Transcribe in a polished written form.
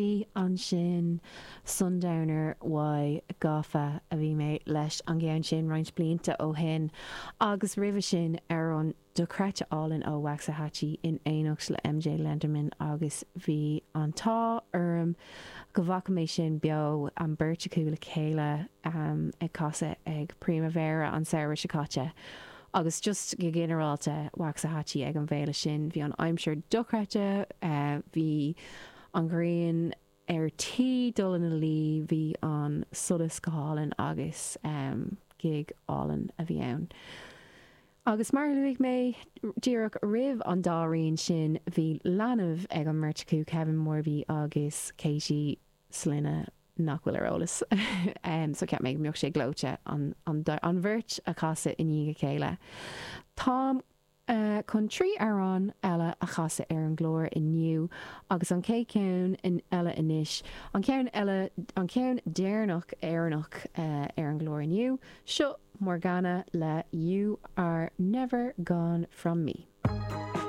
Bhí ansin Sundowner Y gafa a bhí mé leis an gceann sin roinnt blianta ó shin agus roimhe sin amhrán dochreidte álainn ó Waxahatchee in éineacht le MJ Lenderman agus bhí an t-ádh orm go bhfaca mé sin beo, an bheirt acu le chéile ag casadh ag Primavera an samhradh seo caite agus just go ginearálta Waxahatchee ag an bhféile sin, bhí an aimsir dochreidte, bhí. an ghrian ar tí dul ina luí, bhí an solas go hálainn agus gig álainn a bhí ann. Agus mar a luaigh mé díreach roimh an dá rian sin, bhí leanbh ag an mbeirt acu, Kevin Morby agus Katie, sloinne nach bhfuil ar eolas, so cheap mé go mbeadh sé gleoite an bheirt a chasadh i ndiaidh a chéile. Táim. chun 3 amhrán eile a chasadh ar an gclár inniu agus an chéad cheann eile anois, an ceann eile, an ceann deireanach Éireannach ar an gclár inniu, seo Morgana le You Are Never Gone From Me.